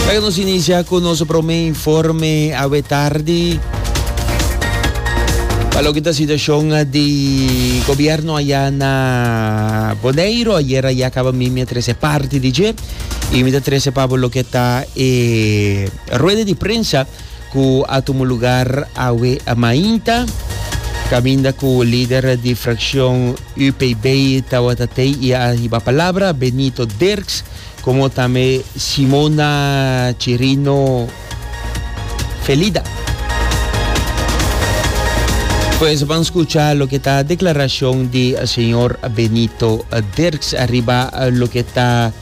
Laga nos inicia cu nos prome informe awe tardi. Pa loke ta situacion di gobierno allá na Boneiro, ayer allá caba mi mi a trece parti di dje y mi ta trece pa bo loke ta e rueda di prensa cu a tuma lugar awe mainta, caminda cu lider di fraccion UPB tawata tey y a hiba palabra, Benito Dirks, como tambe Simona Chirino Felida. Pues ban scucha loke ta declaracion di señor Benito Dirks ariba loke ta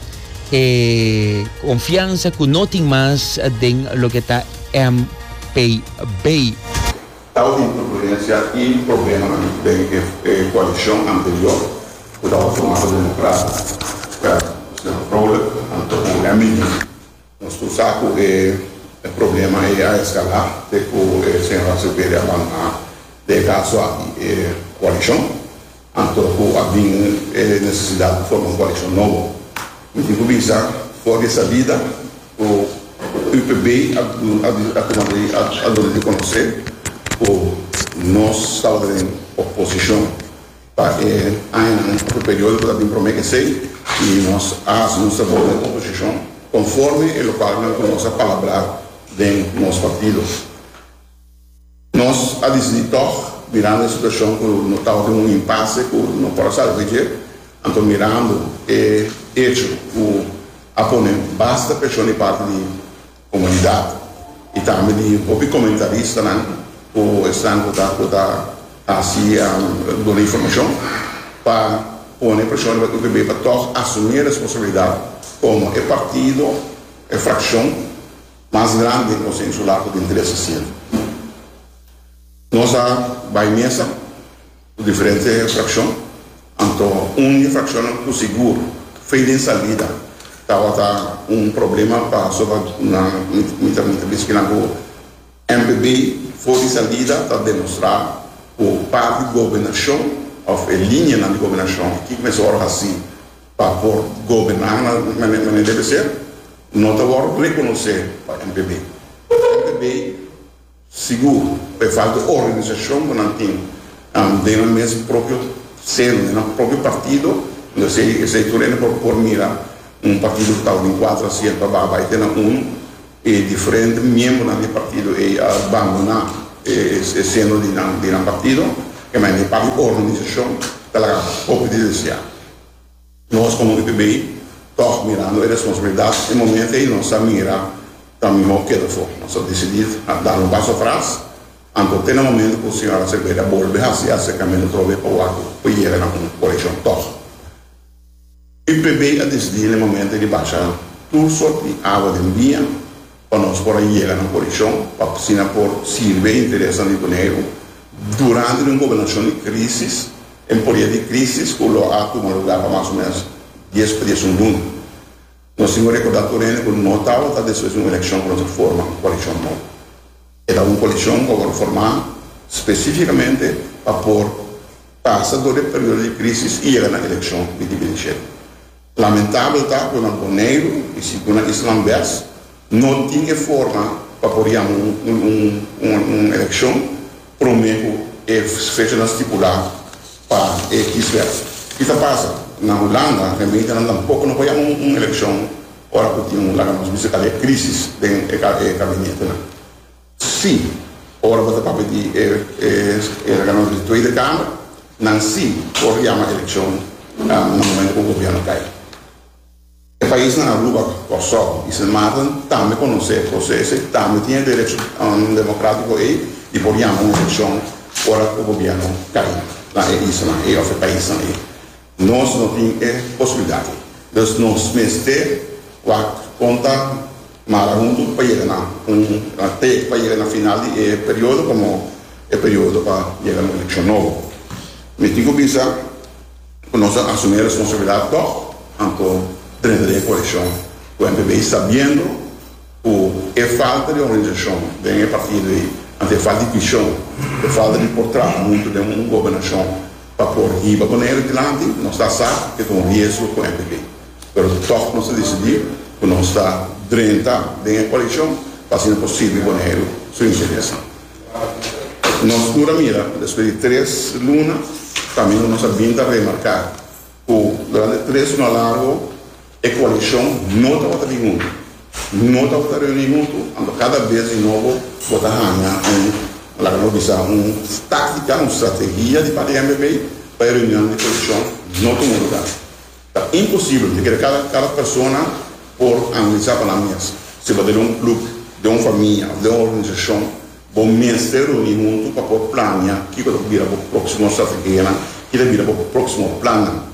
e confiansa cu no tin mas den loke ta MPB. Tabatin turbulencia y problemanan den e coalicion anterior cu tabata forma pa Democrata, Señor Vrolijk anto cu MID. Nos tur sa cu e problema ey a escala te cu e señor Acevedo a bandona den e caso aki e coalicion. Anto ku a bin e nesesidat pa forma un koalishon nobo. Mi tin ku bisa for di e salida ku UPB a a duna di konosé ku nos tabata den oposishon pa e añanan òf e periodo ku ta bin promé esei i nos a hasi nos trabou den oposishon konforme e lokualnan ku nos a palabrá den nos partido. Nos a disidí tòg, mirando e situashon ku no tabatin un impase ku no por a sali di dje, anto mirando e echo ku a pone basta preshon di parti di komunidat i tambe di hopi komentaristanan ku esnan ku ta ku ta hasi duna informashon pa pone preshon riba UPB pa tòg asumí e responsabilidat komo e partido, e frakshon. Mas grandi den Konseho Insular ku tin tres asiento. Nos a bai mesa ku diferente frakshon, anto un di e frakshonnan ku sigur fei den salida tabata un problema pasobra nan mi ta mi ta bisa kinan ku MPB for di salida ta demostrá ku parti gobernashon òf e lineanan di gobernashon kiko mester wòrdu hasí pa por goberná na manera debe ser, no ta wòrdu rekonosé pa MPB. MPB sigur pa e falta di organisashon ku nan tin den nan mes propio seno, den nan propio partido, esei esei tur hende por por mira un partido ku tabatin kuater asiento a baha bai te na unu i diferente miembronan di e partido ei a bandoná e seno di nan di nan partido, e manera e parti organisashon ta laga hopi di deseá. Nos komo UPB tòg mirando e responsabilidat e momento ei nos a mira ta mihó keda afó. Nos a disidí a dar un paso atras, anto te na momento ku señor Acevedo a bolbe hasi e aserkamentu otra bes pa wak ku yega na un korekshon tòg. UPB a disidí na e momento ei di basha tur sort di awa den biña pa nos por a yega na korekshon pa asina por sirbi e interesnan di Boneiru durante di un gobernashon di krísis. En poder di crisis cu lo a tuma lugar pa mas o menos dies pa diesun luna. Nos tin cu recorda tur hende cu no tabata despues di un eleccion cu nos a forma un coalicion nobo. E tabata un coalicion cu a worde forma specificamente pa por pasa door di e periodo di crisis y yega na eleccion di 2007. Lamentabel ta ku na Boneiru i sigur na Islanan Bes no tin e forma pa por yama un elekshon promé ku e fechanan stipulá pa e kieswet. Ki ta pasa? Na Hulanda gemeentenan tampoko no por yama un elekshon ora ku tin un laga nos bisa kal e krisis den e kabinetenan. Sí, ora bo ta papia di e organo di Tweede Kamer, nan sí por yama elekshon na momento ku gobierno kai. E paisnan Aruba, Kòrsou i Sint Maarten tambe konosé e proseso i tambe tin e derecho demokratiko ei di por yama un elekshon ora ku gobierno kai na e islanan ei òf e paisnan ei. Nos no tin e posibilidat ei. Dus nos mester wak kon ta mara huntu pa yega na un te pa yega na final di e periodo komo e periodo pa yega na un elekshon nobo. Mi tin ku bisa ku nos a asumí e responsabilidat tòg anto drenta den e koalishon ku MPB sabiendo ku e falta di organisashon den e partido ei, anto e falta di vishon, e falta di por traha huntu den un gobernashon Pa por hiba Boneiru dilanti, nos ta sa ke ta un riesgo ku MPB. Pero tòg nos a disidí ku. ku nos ta drenta den e koalishon pa asina por sirbi Boneiru su interesnan. Nos tur a mira despues di tres luna kaminda nos a bin ta remarká ku durante tres luna largo e koalishon no tabata bin huntu, no tabata reuní huntu, anto kada bes di nobo bo ta haña un, laga nos bisa, un táktika, un strategia di parti di MPP pa e reunionnan di koalishon no tuma lugá. Ta imposibel, mi kere kada kada persona por analisá pa nan mes. Si bo ta den un club, den un famia of den un organisashon, bo mester reuní huntu pa por plania kiko ta bira bo próksimo strategianan, kiko ta bira bo próksimo plannan.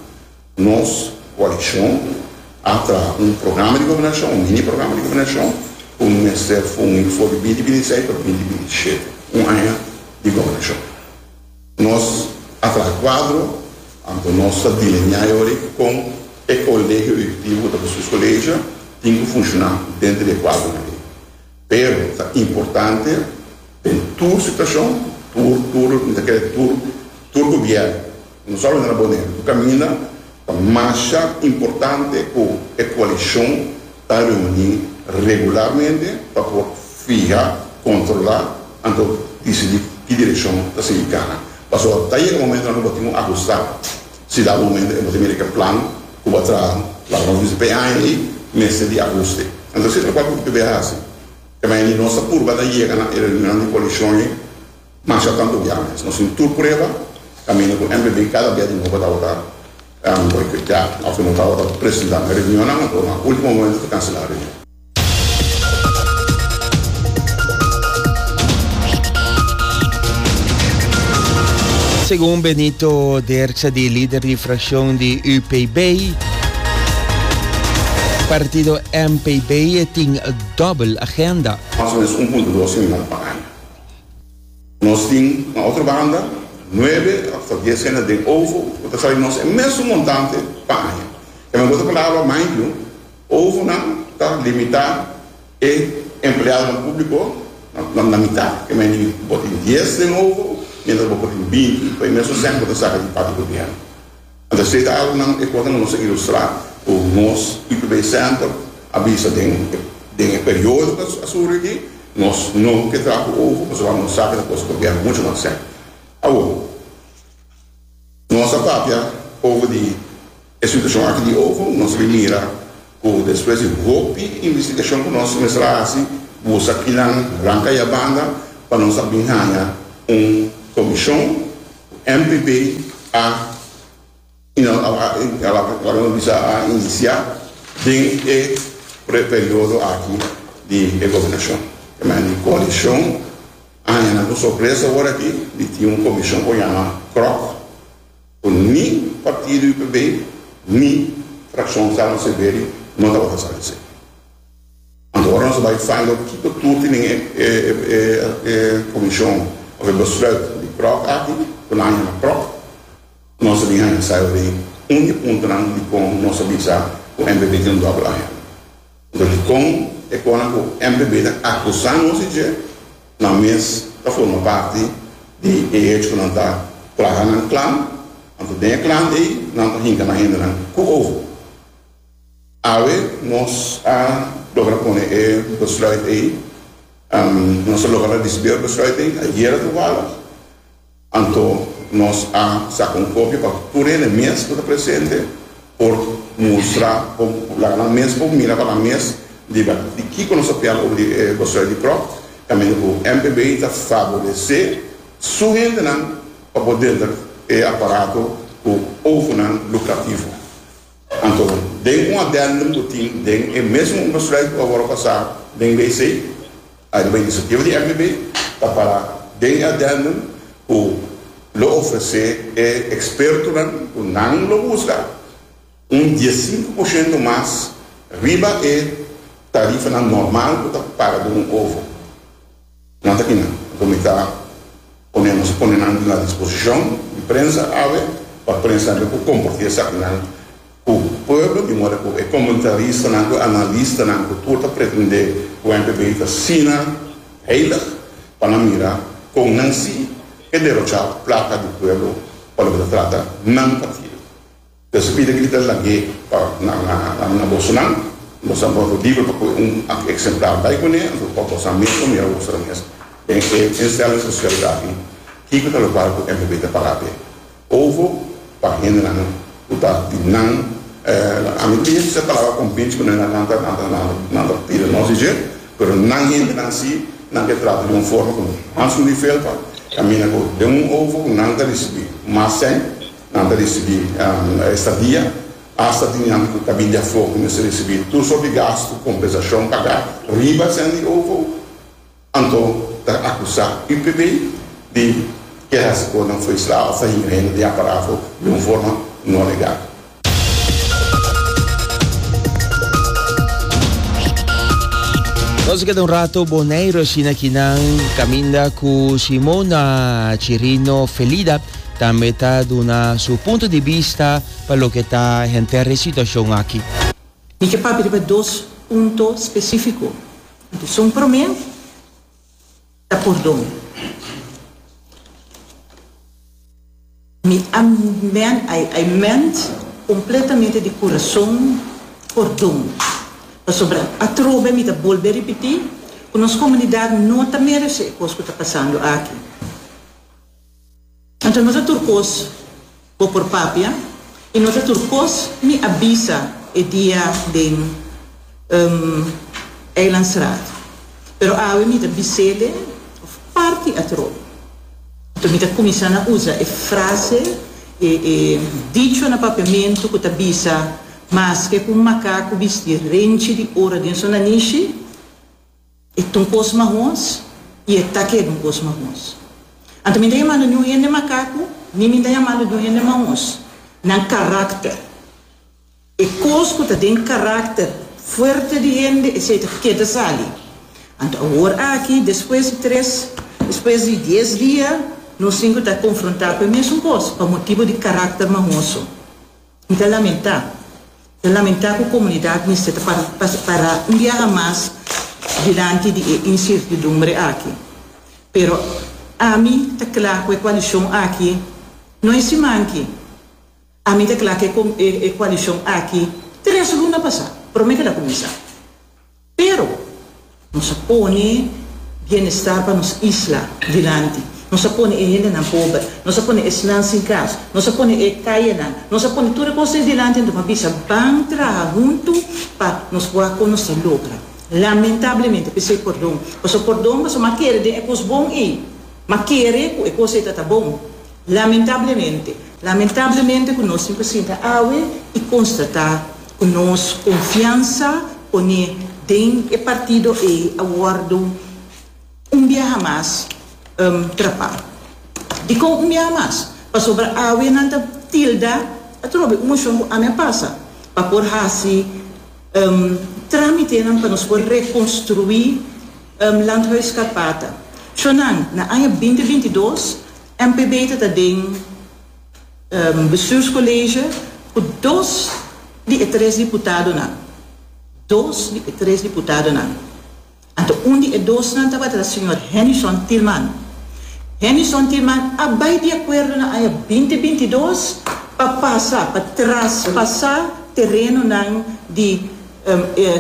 Nos koalishon a traha un programa di gobernashon, un mini programa di gobernashon ku mester fungi for di binti binti seis pa binti binti shete, un aña di gobernashon. Nos a traha kuadro, anto nos ta delineá e ora ei kon e kolegio ehekutivo ku ta bestuurscollege tin ku funshoná denter di e kuadronan ei. Pero ta importante den tur situashon, tur tur mi ta kere tur tur gobièrnu, no solamente na Boneiru, tur kaminda ta masha importante ku e koalishon ta reuní regularmente pa por fiha, kontrolá, anto disidí ki direkshon ta sigui kana. Pasobra ta yega momentonan ku bo tin ku ahustá. Si dado momento e bo ta mira ku e plan ku bo a traha, laga nos bisa pa e aña ei, mester di ahuste. Anto esei ta lokual ku UPB a hasi. Te manera di nos ta purba ta yega na e reunionnan di koalishon ei masha tantu bia mes. Nos tin tur prueba kaminda ku MPB kada bia di nobo tabata boikoteá òf no tabata presentá na e reunionnan, anto na último momento ta kanselá e reunion. Segun Benito Derkse di lider di fraccion di UPB, partido MPB tin dobbel agenda. Mas o menos un punto dos mion pa aña. Nos tin na otro banda nuebe of ta dies hende den ovo ku ta sali nos e mesun montante pa aña. Kende bo ta palabra mind you, Ovonan ta limitá e empleadonan públiko na mitá. Ke mei bo tin dies den ovo, miéntras bo por tin 20 pa e mesun sèn ku bo ta saka di parti gobièrnu. Anto esei ta algunan e kosnan ku nos a ilustrá ku nos IPB Center a bisa den den e periodo ku a surgi aki, nos no ke traha ku ovo pasobra nos sa ku ta kosta gobièrnu muchu mas sèn. Awor, nos a papia over di E situashon aki di ovo, nos a bin mira ku despues di hopi investigashon ku nos mester a hasi, buska kinan ranka i a banda pa nos a bin haña un komishon ku MPB a laga nos bisa a inisiá den e periodo aki di e gobernashon. E manera di koalishon a haña nan ku sorpresa awor aki di tin un komishon ku yama CROC. Ku ni partido UPB ni frakshon Salmo Severi no tabata sa esei. Anto ora nos a bai find out kiko tur tin den e komishon of e besluit di CROC aki, ku nan a yama CROC, nos a bin haña sa di un di puntonan dikon nos a bisa ku MPB tin un dòbel agenda. Anto dikon e konan ku MPB ta akusá nos di dje, nan mes ta forma parti di e hecho ku nan ta traha nan klan, anto den e klan ei nan ta hinka nan hendenan ku ovo. Awe nos a logra pone e besluit ei, nos a logra risibí e besluit ei ayera toevallig. Anto nos a saka un kopia pa tur hende mes ku ta presente por mustra, por laga nan mes por mira pa nan mes di di kiko nos ta pial over di e besluit di prop, kaminda ku MPB ta faboresé su hendenan pa por denter e aparato ku ovonan lukrativo. Anto den un addendum ku tin den e mesun besluit ku a wòrdu pasá den WC, Ariba inisiativa di MPB ta para den e addendum ku lo ofresé e ekspertonan ku nan lo buska un diesinku por shento mas riba e tarifanan normal ku ta paga den un ovo. Nan ta kinan. Anto mi ta pone nos a pone nan na disposishon di prensa awe pa prensa tambe por kompartí esakinan ku pueblo di moda ku e komentaristanan ku e analistanan ku tur ta pretendé ku MPB ta asina heilig pa nan mira kon nan si ke derochá plaka di pueblo pa loke ta trata nan partido. Entonces pida grita lag'é pa na bosonan. Boso a wòrdu liber pa kohe un eksemplar bai kuné, anto pa boso mes por mira boso mes den e instelling sosial aki kiko ta lokual ku MPB ta paga p'e. Ovo pa hendenan ku ta di nan, ami ta bisa e palabra kompinchi ku nan nan ta nan ta nan ta pidi nos di dje, pero nan hendenan si nan ke trata di un forma ku Hans di Velpa kaminda ku den un ovo ku nan ta risibí mas sèn, nan ta risibí estadia. Asta tin nan ku ta bin di afó ku mester risibí tur sort di gastu, kompensashon pagá riba sèn di ovo, anto ta akusá UPB di ke hasi kosnan fo'i sla òf ta hinka hende den aparato di un forma no legal. Nos a keda un rato Boneiru asina kinan kaminda ku Simona Chirino Felida tambe ta duna su punto di bista pa loke ta henter e situacion aki. Mi ke papia riba dos punto spesífiko. Esun promé ta pordon. Mi a men, I, I meant kompletamente di kurason pordon. Pasobra atrobe mi ta bolbe ripití ku nos komunidat no ta meresé e kos ku ta pasando aki. Anto no ta tur kos bo por papia i no ta tur kos mi a bisa e dia den Eilandsraad. Pero awe mi ta bis'ele of parti atrobe. Anto mi ta kuminsá na usa e frase, e e dicho na papiamentu ku ta bisa, Maske ku un makaku bisti renchi di oro den su nanishi, E ta un kos mahos i e ta keda un kos mahos. Anto mi ta yamando niun hende makaku, ni mi ta yamando niun hende mahos. Nan karakter. E kos ku ta den karakter fuerte di hende, esei ta keda sali. Anto awor aki, despues di tres, despues di dies dia, nos tin ku ta konfrontá ku e mesun kos, pa motibu di karakter mahoso. Mi ta lamentá. Ta lamentá ku komunidat mester ta para un biaha mas dilanti di e insertidumbre aki. Pero ami ta kla ku e koalishon aki no e siman aki. Ami ta kla ku e koalishon aki tres luna pasá, promé ku el a kuminsá. Pero, nos a pone bienestar pa nos isla dilanti. Nos a pone e hendenan pober, nos a pone esnan sin kas, nos a pone e kayenan, nos a pone tur e kos ei dilanti anto pa bisa ban traha huntu pa nos wak kon nos ta logra. Lamentablemente, p'esei pordon. Pasobra pordon pasobra mi a kere den e kos bon ei. Mi a kere ku e kos ei ta ta bon. Lamentablemente, lamentablemente ku nos tin ku sinta awe i konstatá ku nos konfiansa poné den e partido ei a wòrdu un biaha mas trapá. Dikon un biaha mas? Pasobra awe nan ta tilda atrobe un moshon ku ami a pasa pa por hasi trámitenan pa nos por rekonstruí Landhuis Karpata. Shonnan, na aña binti 22, MPB ta ta den Bestuurscollege ku dos di e tres diputadonan. Dos di e tres diputadonan. Anto un di e dosnan tabata ta señor Hennyson Thielman. Hennyson Thielman a bai di akuerdo na aña binti 22 pa pasa, pa traspasá terenonan di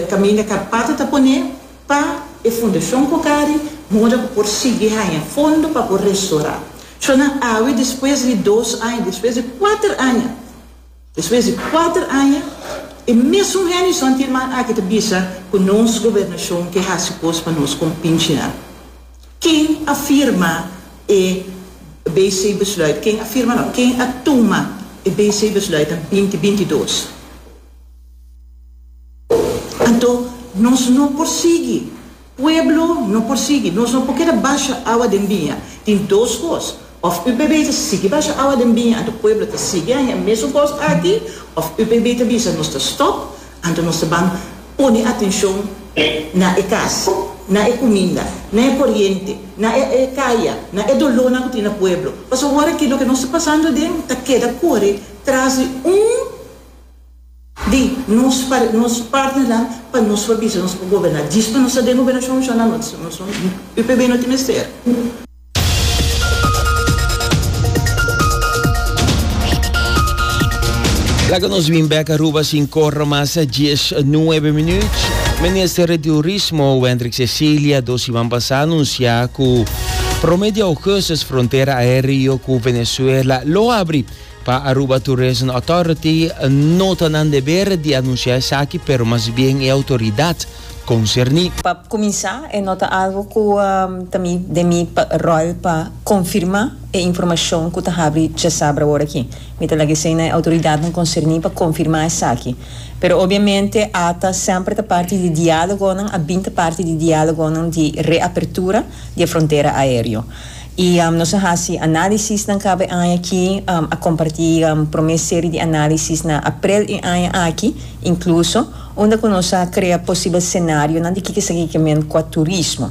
kaminda Karpata ta poné Pa e Fundashon Cocari moda ku por sigui haña fondo pa por restorá. Shonnan awe despues di dos aña, despues di kuater aña, despues di kuater aña, e mesun Hennyson Tielman aki ta bisa ku nos gobernashon ke hasi kos pa nos kompinchinan. Ken a firma e BC besluit? Ken a firma no, ken a tuma e BC besluit na binti 22? Anto nos no por sigui. Pueblo no por sigui. Nos no por keda basha awa den biña. Tin dos kos, òf UPB ta sigui basha awa den biña anto pueblo ta sigui haña e mesun kos aki, òf UPB ta bisa nos ta stòp, anto nos ta ban pone atenshon na e kas, na e kuminda, na e koriente, na e kaya, na e dolónan ku tin na pueblo. Pasobra awor aki loke nos ta pasando aden ta keda kore tras di un. Di nos nos partnernan pa nos por bisa nos por goberná. Djis pa nos ta den gobernashon shona nos nos UPB no tin mester. Laga nos bin bek Aruba sin corra mas 19 minuut. Minister di Turismo Wendrick Cecilia dos siman pasa anuncia cu prome di augustus frontera aereo cu Venezuela lo habri. Pa Aruba Tourism Authority no ta nan deber di anuncia esaki pero mas bien e autoridad concerni. Pa cuminsa e no ta algo cu ta mi den mi rol pa confirma e informacion cu ta habri djasabra awor aki. Mi ta laga esey na e autoridadnan concerni pa confirma esaki. Pero obviamente ata semper ta parti di dialogonan, a bin ta parti di dialogonan di reapertura di e frontera aereo. Y nos a haci analisisnan caba e aña aki, a comparti prome serie di analisis na april e aña aki, incluso, unda cu nos a crea posibel scenarionan di kiko esaki ke men cua turismo.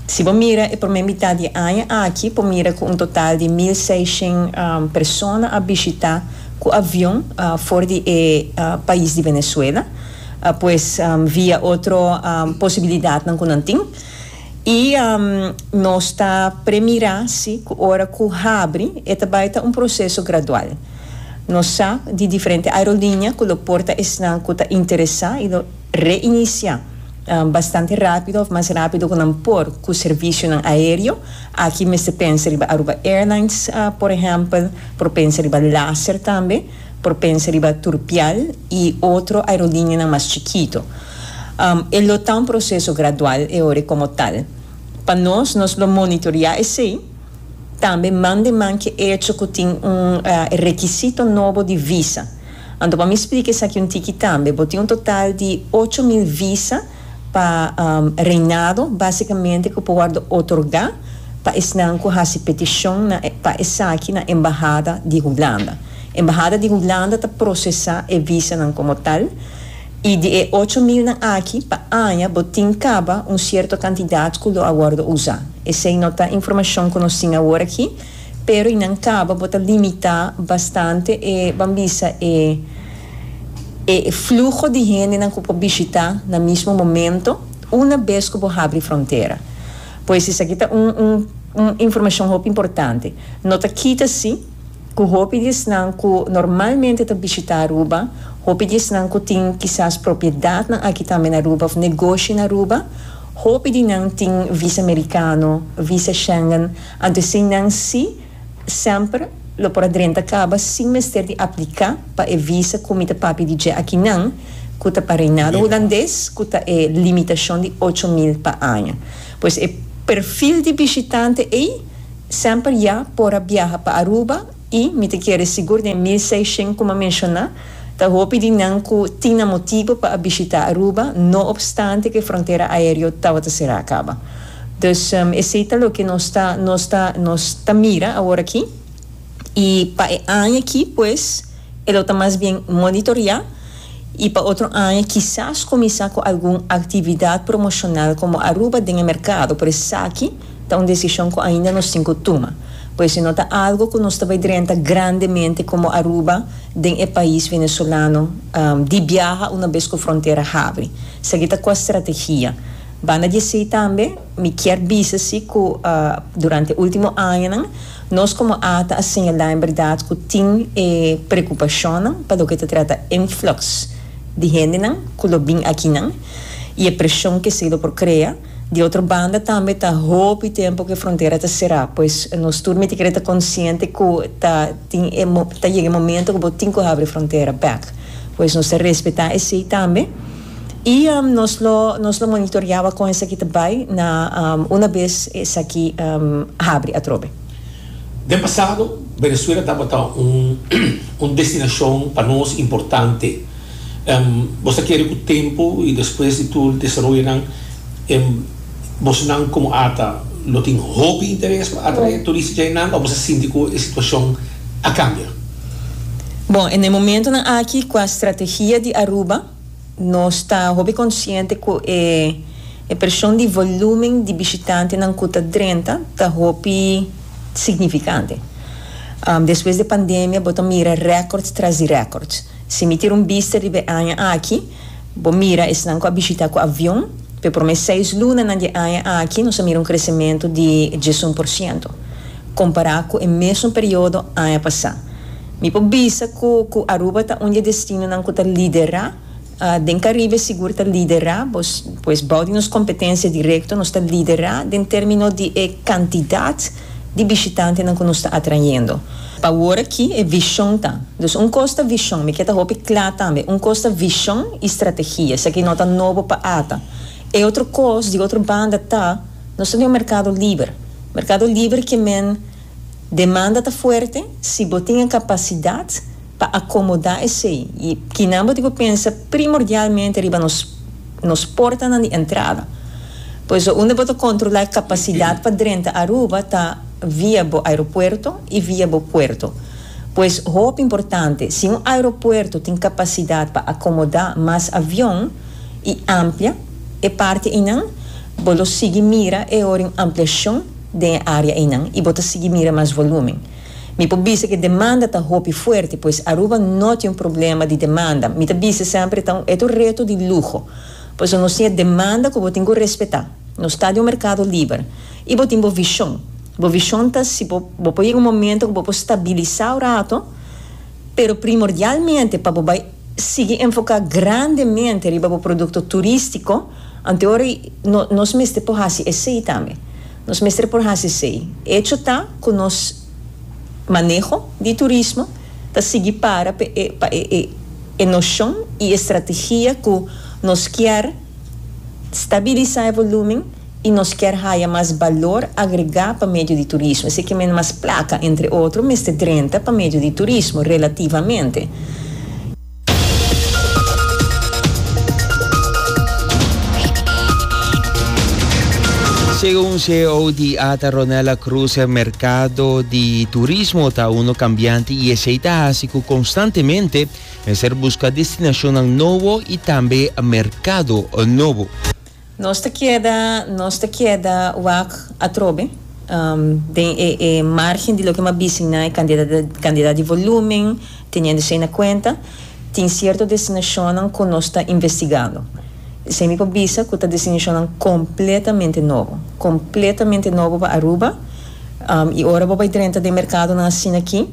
Si bo mira e prome mitad di e aña aki, por mira cu un total di 1600 persona a bishita cu avion for di e pais di Venezuela, pues via otro posibilidadnan cu nan tin. Y nos ta premira si cu ora cu habri e ta bay ta un proceso gradual. Nos sa di diferente aerolinea cu lo por ta esnan cu ta interesa y lo reinicia bastante rapido of mas rapido cu nan por cu servicionan aereo. Aki mester pensa riba Aruba Airlines por ehempel, por pensa riba Laser tambe, por pensa riba Turpial y otro aerolineanan mas chikito. E lo ta un proceso gradual e ora como tal. Pa nos, nos lo monitorea esey, tambe man den man ke echo cu tin un rekisito nobo di visa. Anto pa mi splica esaki un tiki tambe, bo tin un total di 8000 visa pa reinado, basicamente cu por wordo otorga pa esnan cu haci peticion na pa esaki na embahada di Hulanda. Embahada di Hulanda ta procesa e visanan como tal. I di e ocho milnan aki, pa aña bo tin kaba un sierto kantidat ku lo a wòrdu usá. Esei no ta informashon ku nos tin awor aki, pero i nan kaba bo ta limitá bastante e, ban bisa, e e fluho di hendenan ku por bishitá na mismo momento una bes ku bo habri frontera. Pues esaki ta un un un informashon hopi importante. No ta kita si. Ku hopi di esnan ku normalmente ta bishitá Aruba, hopi di esnan ku tin kisas propiedatnan aki tambe na Aruba òf negoshi na Aruba, hopi di nan tin visa merikano, visa Schengen, anto esei nan sí semper lo por a drenta kaba sin mester di apliká pa e visa ku mi ta papia di dje akinan, ku ta pa Reinado Hulandes, ku ta e limitashon di 8000 pa aña. Pues e perfil di bishitante ei. Semper ya por a biaha pa Aruba y mi ta kere sigur den 1600 cu m'a menciona, ta hopi di nan cu tin nan motibo pa a bishita Aruba, no obstante cu e frontera aereo tabata cera caba. Dus esey ta loke nos ta nos ta nos ta mira awor aki y pa e aña aki pues e lo ta mas bien monitorea y pa otro aña kisas cuminsa cu algun actividad promocional como Aruba den e mercado, pero esaki Ta un desishon ku ainda nos tin ku tuma. Pues e no ta algo ku nos ta bai drenta grandemente komo Aruba den e pais venezolano di biaha una bes ku frontera habri. Esaki ta kua strategia. Banda di esei tambe mi kier bisa si ku durante ultimo añanan nos komo ata a señalá en bèrdat ku tin e preokupashonnan pa loke ta trata influx di hendenan ku lo bin akinan i e preshon ku esei lo por krea. Di otro banda tambe ta hopi tempo ku e frontera ta será, pues nos tur mester kere ta konsiente ku ta tin e ta yega e momento ku bo tin ku habri frontera bèk. Pues nos ta respetá esei tambe i nos lo nos lo monitoreá wak kon esaki ta bai na una bes esaki habri atrobe. Den pasado Venezuela tabata un un destinashon pa nos importante. Bo ta kere ku tempu i despues di tur desaroyonan, bosonan komo ata lo tin hopi interes pa atrae turista djainan òf bo sa sinti ku e situashon a kambia? Bon, en e momentonan aki kua strategia di Aruba nos ta hopi konsiente ku e e preshon di volumen di bishitantenan ku ta drenta ta hopi signifikante. Despues di pandemia bo ta mira rèkòrt tras di rèkòrt. Si mi tira un bista riba e aña aki, bo mira esnan ku a bishitá ku avion, pa e promé seis lunanan di e aña aki nos a mira un kresementu di 11% kompará ku e mesun periodo aña pasá. Mi por bisa ku ku Aruba ta un di e destinonan ku ta liderá den Caribe sigur ta liderá, pues bou di nos kompetensia direkto nos ta liderá den término di e kantidat di bishitantenan ku nos ta atrayendo. Pa awor aki e vishon ta, dus un kos ta vishon, mi ke ta hopi kla tambe, un kos ta vishon i strategia, esaki no ta nobo pa ata. E otro kos di otro banda ta, nos ta den un merkado liber. Merkado liber ke men demanda ta fuerte, si bo tin e kapasidat pa akomodá esei i kinan bo tin ku pensa primordialmente riba nos nos portanan di entrada. Pues unda bo ta kontrolá e kapasidat pa drenta Aruba ta via bo aeropuerto i via bo puerto. Pues hopi importante, si un aeropuerto tin kapasidat pa akomodá mas avion i amplia e parti einan, bo lo sigui mira e ora un ampliashon den e área einan i bo ta sigui mira mas volúmen. Mi por bisa ku e demanda ta hopi fuerte, pues Aruba no tin un problema di demanda. Mi ta bisa semper e ta un e ta un reto di luho, pasobra nos tin e demanda ku bo tin ku respetá. Nos ta den un merkado liber i bo tin bo vishon. Bo vishon ta si bo bo por yega un momento ku bo por stabilisá un rato, pero primordialmente pa bo bai sigui enfoká grandemente riba bo produkto turístiko, anteora no nos mester por hasi esei tambe. Nos mester por hasi esei. Echo ta ku nos maneho di turismo ta sigui para pa e pa e e noshon i e strategia ku nos kier stabilisá e volumen i nos kier haya mas balor agregá pa medio di turismo. Esei ke men mas plaka, entre otro, mester drenta pa medio di turismo, relativamente. Segun ceo di ata Ronella Cruz e mercado di turismo ta uno cambiante y esey ta haci cu constantemente mester busca destinacionnan nobo y tambe mercado nobo. Nos ta keda nos ta keda wak atrobe den e e margen di loke m'a bisa na e kandidat kandidat di volumen, teniendo esei na kuenta, tin sierto destinashonnan ku nos ta investigando. Esei mi por bisa ku ta destinashonnan kompletamente nobo, kompletamente nobo pa Aruba i ora bo bai drenta den merkadonan asina aki,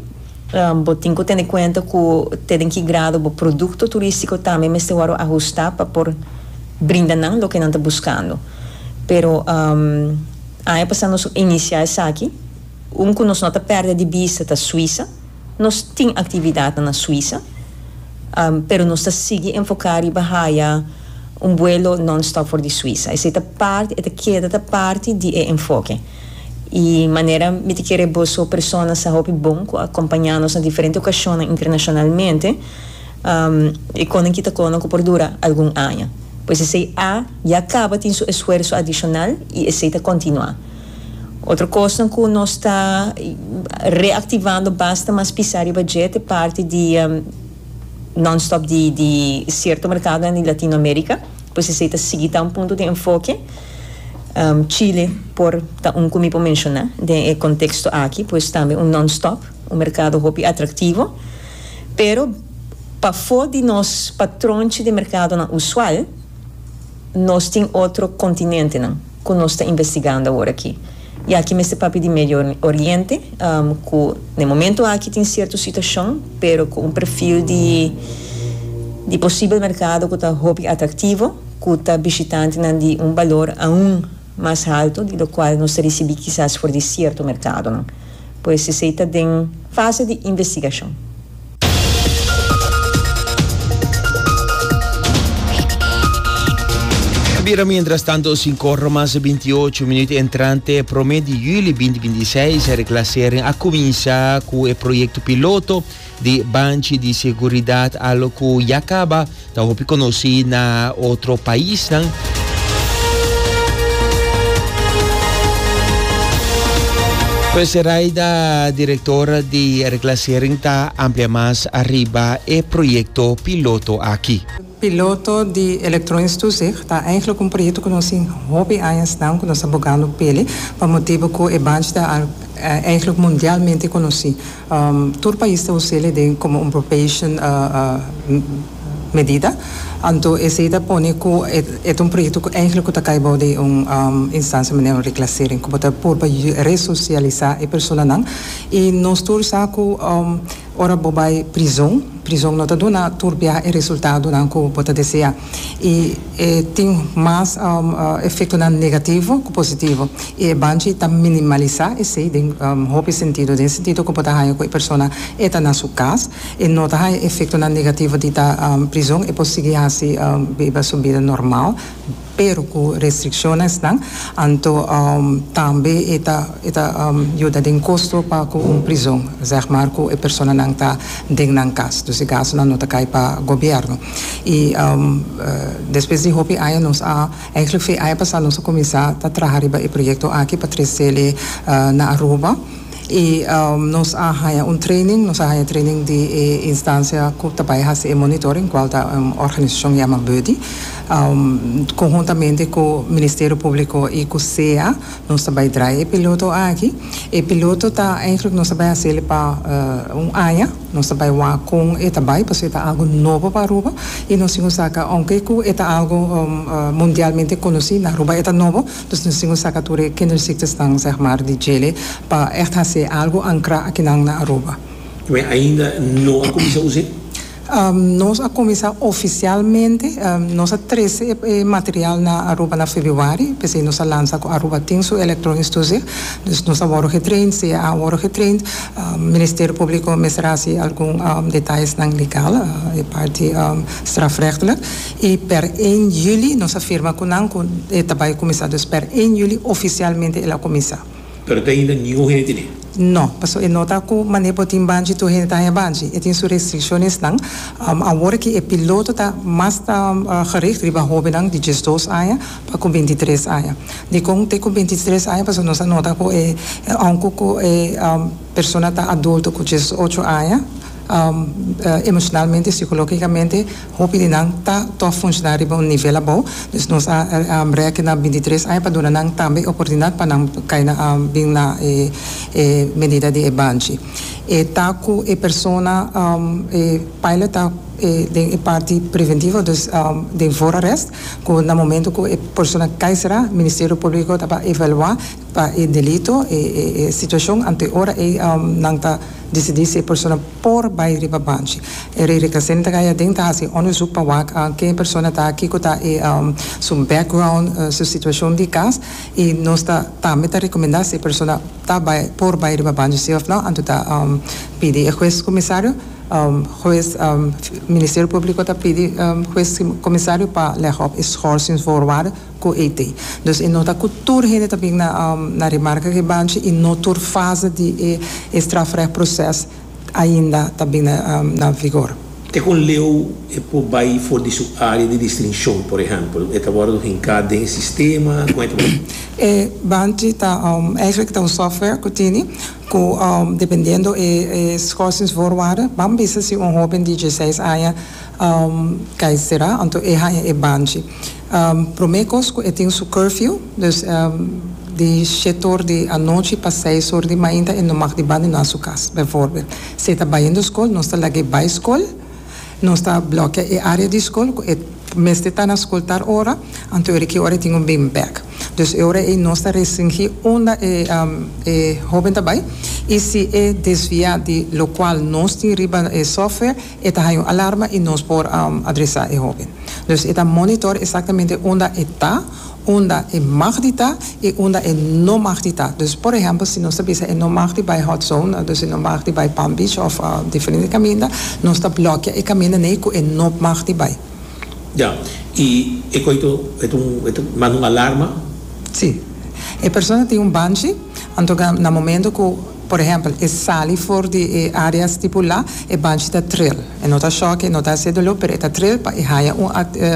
Bo tin ku tene kuenta ku te den ki grado bo produkto turístiko tambe mester wòrdu ahustá pa por brinda nan loke nan ta buskando. Pero aña pasá nos a inisiá esaki. Un ku nos no ta pèrdè di bista ta Suisa. Nos tin aktividatnan na Suisa, pero nos ta sigui enfoká riba haya un buelo nònstòp for di Suisa. Esei ta parti, e ta keda ta parti di e enfoke. I manera mi ta kere boso persona sa hopi bon ku a kompañá nos na diferente okashonnan internashonalmente, e konan kita konan ku por dura algun aña. Pues esei a ya kaba tin su esfuerso adishonal i esei ta kontinuá. Otro kosnan ku nos ta reaktivando basta mas pisá riba dje ta e parti di nònstòp di di sierto merkadonan di Latinoamérika. Pues esei ta sigui ta un punto di enfoke. Chile por ta un ku mi por menshoná den e konteksto aki, pues tambe un non-stop, un merkado hopi atraktivo. Pero pafó di nos patronchi di merkadonan usual, nos tin otro kontinentenan ku nos ta investigando awor aki. I aki mester papia di Medio Oriente, ku na e momento aki tin sierto situashon, pero ku un perfil di di posibel merkado ku ta hopi atraktivo. Ku ta bishitantenan di un balor aun mas haltu di lokual nos ta risibí kisas for di sierto merkadonan. Pues esei ta den fase di investigashon. A bira mientras tanto sinkor mas 28 minuut entrante prome di juli 2026 Reclassering a kuminsá ku e proyekto piloto di banchi di seguridat alo ku ya kaba Ta hopi konosí na otro paisnan. Pues Raida, direktor di Reclassering ta amplia mas ariba e proyekto piloto aki. Piloto di Elektronisch Toezicht ta eigenlijk un proyekto ku nos tin hopi añasnan ku nos ta bogando p'e pa motibu ku e banchi ta eigenlijk mundialmente konosí. Tur pais ta us'el den komo un probation medida. Anto esei ta pone ku e ta un proyekto ku eigenlijk ku ta kai bou di un instansia manera un reclassering ku bo ta purba resosialisá e personanan i nos tur sa ku ora bo bai prizon, prizon no ta duna tur biaha e resultadonan ku bo ta deseá i e tin mas efektonan negativo ku positivo i e banchi ta minimalisá esei den hopi sentido, den sentido ku bo ta haña ku e persona e ta na su kas. E no ta haña efektonan negativo di ta prizon, e por sigui hasi biba su bida normal, pero ku restrikshonnan esnan. Anto tambe e ta e ta yuda den kosto pa ku un prizon, zeg maar ku e personanan ta den nan kas. Dus e gastunan no ta kai pa gobièrnu. I despues di hopi aña nos a, eigenlijk fe aña pasá nos a kuminsá ta traha riba e proyekto aki pa tres'el na Aruba. I nos a haña un training, nos a haña training di e instansia ku ta bai hasi e monitoring, kual ta un organisashon yama Buddy. Konhuntamente ku Ministerio Públiko i ku sea nos ta bai drai e piloto aki. E piloto ta eigenlijk nos ta bai hasiel pa un aña, nos ta bai wak kon e ta bai pasobra e ta algu nobo pa Aruba i nos tin ku saka ounke ku e ta algu mundialmente konosí na Aruba e ta nobo. Dus nos tin ku saka tur e kinderziektenan zeg maar di djele pa ègt hasi algu ankrá akinan na Aruba. Pero ainda no a kuminsá us'é? Nos a kuminsá ofisialmente, nos a trese e material na Aruba na febrüari, p'esei nos a lansa ku Aruba tin su elektronisch toezicht. Dus nos a wòrdu getraind, CA a wòrdu getraind, Ministerio Públiko mester hasi algun detayesnan legal, e parti strafrechtelijk. I per ein juli nos a firma ku nan ku e ta bai kuminsá. Dus per ein juli ofisialmente el a kuminsá. Pero te ainda ningun hende tene? No, pasobra e no ta ku manera bo tin banchi tur hende ta haña banchi. E tin su restrikshonесnan. Awor ki e piloto ta mas ta gericht riba hóbennan di diesdos aña pa ku bintitres aña. Dikon te ku bintitres aña? Pasobra nos a nota ku e ounke ku e persona ta adulto ku diesocho aña, emoshonalmente, sikológikamente, Hopi di nan ta tòg funshoná riba un nivel abou, dus nos a rèk na bintitres aña pa duna nan tambe e oportunidat pa nan kai na bin na e medida di e banchi. E ta ku e persona e pilot ta den e parti preventivo, dus den voorarrest, ku na momento ku e persona kai será, Ministerio Públiko ta bai evaluá pa e delito, e situashon, anto e ora ei nan ta disidí si e persona por bai riba banchi. E rei reclassering ta kai aden ta hasi onderzoek pa wak ken e persona ta, kiko ta e su background, su situacion di cas y nos ta tambe ta recomenda si e persona ta bai por bai riba banchi si of no, anto ta pidi e hues comisario, hues Ministerio Publico ta pidi hues comisario pa leg op e schorsingsvoorwaarden cu e te. Dus e no ta cu tur hende ta bin na na remarca cu e banchi y no tur fase di e strafrechtproces ainda ta bin na vigor. Te con leu e por bay for di su area di distincion, por ehempel, e ta wordo hinca den e sistema, con e ta wordo? E banchi ta eigenlijk ta un software cu tini cu dependiendo e schorsingsvoorwaarden, ban bisa si un hoben di dieseis aña cay cera, anto e haña e banchi. Prome kos ku e tin su curfew, dus di shete or di anochi pa seis or di mainta e no mag di bandona su kas, bijvoorbeeld. Si e ta bayendo skol, nos ta lag'é bai skol, nos ta blòkia e área di skol ku e mester ta na skol tal ora, anto e ora ki ora e tin ku bin bèk. Dus e ora ei nos ta restringí unda e e hóben ta bai i si e desviá di lokual nos tin riba e software, e ta haña un alarma i nos por adresá e hóben. Dus e ta monitor exactamente unda e ta, unda e mag di ta y unda e no mag di ta. Dus por ehempel si nos ta bisa e no mag di bay hot zone, dus e no mag di bay Palm Beach of diferente caminda, nos ta blokea e caminda ney cu e no mag di bay. Ya, y e coito e ta un e ta manda un alarma? Si. E persona tin un banchi, anto na momento cu. Por ehèmpel, e sali for di e área stipulá, e banchi ta tril. E no ta shòk, e no ta hasi doló, pero e ta tril pa e haña un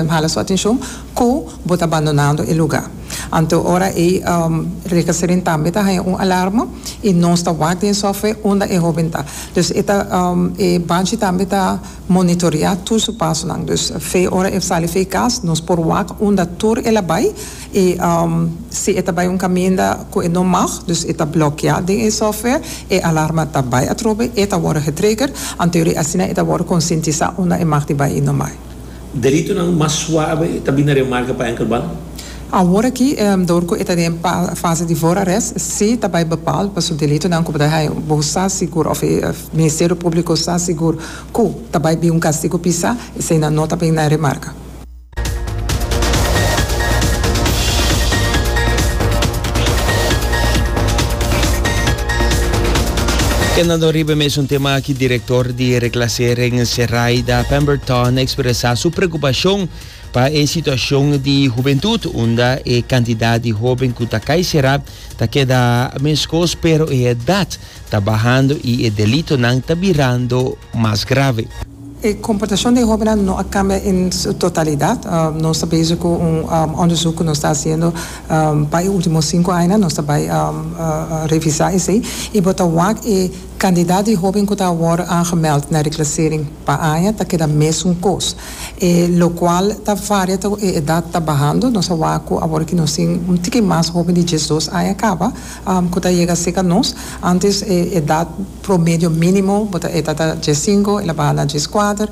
hala su atenshon ku bo ta bandonando e lugá. Anto ora ei Recasering tambe ta haña un alarma i nos ta wak den e software unda e hóben ta. Dus e ta e banchi tambe ta monitoreá tur su pasonan. Dus fe ora e sali fe kas nos por wak unda tur el a bai. I si e ta bai un kaminda ku e no mag, dus e ta blòkiá den e software, e alarma ta bai atrobe, e ta wòrdu getrigger, anto yori asina e ta wòrdu konsientisá unda e mag di bai i no bai. Delitonan mas suave ta bini na remarka pa enkelband? Awor aki, dor ku e ta den fase di voorarrest, si ta bai bepaal pa su delitonan ku bo ta haña bo sa sigur òf e Ministerio Públiko sa sigur ku ta bai bin un kastigu pisá, eseinan no ta bin na remarka. Kendando riba e mesun tema aki, direktor di Reclassering Seraida Pemberton a ekspresá su preokupashon pa e situashon di hubentut, unda e kantidat di hóben ku ta kai será ta keda meskos, pero e edat ta bahando i e delitonan ta birando mas grave. E komportashon di e hóbennan no a kambia en su totalidat. Nos ta bezig ku un onderzoek ku nos ta hasiendo pa e último sinku añanan. Nos ta bai revisá esei i bo ta wak e kandidat di hóben ku ta awor aangemeld na reklasering pa aña ta keda mesun kos. E lokual ta varia ta ku e edat ta bahando. Nos a wak ku awor ki nos tin un tiki mas hóben di diesdos aña kaba ku ta yega serka nos. Antes e edat Promedio mínimo bo ta e ta ta diesinko, el a baha na dieskuater,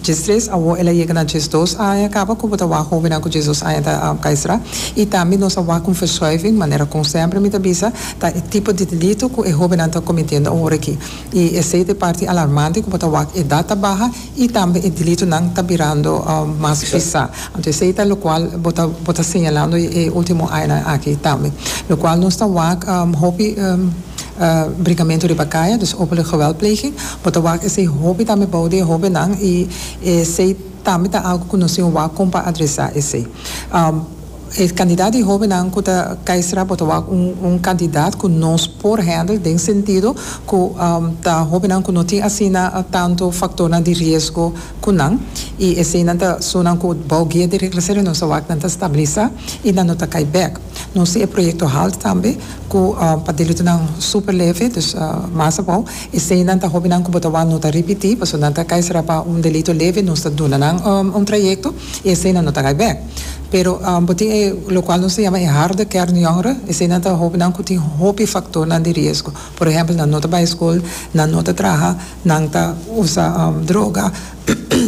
diestres, awor el a yega na diesdos aña kaba ku bo ta wak hóbennan ku diesdos aña ta kai sra. I tambe nos a wak un verschuiving, manera kon semper mi ta bisa, ta e tipo di delito ku e hóbennan ta kometiendo awor aki. I esei ta e parti alarmante ku bo ta wak edat ta baha i tambe e delitonan ta birando mas pisá. Anto esei ta lokual bo ta bo ta señalando e último añanan aki tambe. Lokual nos ta wak hopi. Brincamento riba caya, dus openlijk geweldpleging. Bo ta wak esey hopi tambe bou di e hobennan y esey tambe ta algo cu nos tin wak con pa adresa esey. E cantidad di hobennan cu ta cay sra bo ta wak un cantidad cu nos por handle den sentido cu ta hobennan cu no tin asina tanto factornan di riesgo cu nan y eseynan ta esunnan cu bou guia di reclassering nos ta wak nan ta stabilisa y nan no ta cay bek. Nos tin e proyecto halt tambe. Ku pa delitonan super leve, dus mas abou, eseinan ta hopinan ku bo ta wak no ta ripití, pasobra nan ta kai sera pa un delito leve, nos ta duna nan un trayekto i eseinan no ta kai bèk. Pero bo tin e lokual nos ta yama e harde kern jongeren, eseinan ta hopinan ku tin hopi faktornan di riesgo. Por ehèmpel, nan no ta bai skol, nan no ta traha, nan ta usa droga,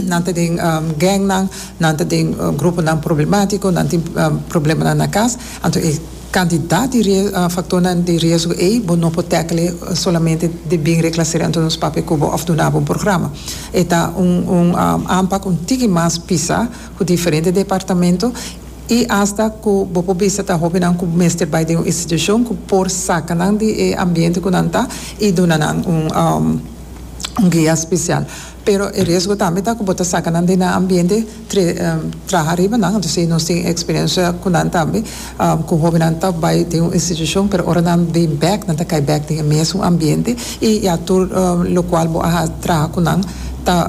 nan ta den gangnan, nan ta den gruponan problemátiko, nan tin problemanan na kas. Anto e Kantidat di faktornan di riesgo ei bo no por tackle solamente di bin reklasera anto nos papia ku bo òf duna bo un programa. E ta un un aanpak un tiki mas pisa ku diferente departamento i asta ku bo por bisa ta hopinan ku mester bai den un institushon ku por saka nan di e ambiente ku nan ta i duna nan un un guia spesial. Pero e riesgo tambe ta ku bo ta saka nan den nan ambiente traha riba nan. Entonces nos tin experiencia ku nan tambe ku hobennan ta bai den un institushon pero ora nan bin bek nan ta kai bek den e mesun ambiente i ya tur lokual bo a traha ku nan.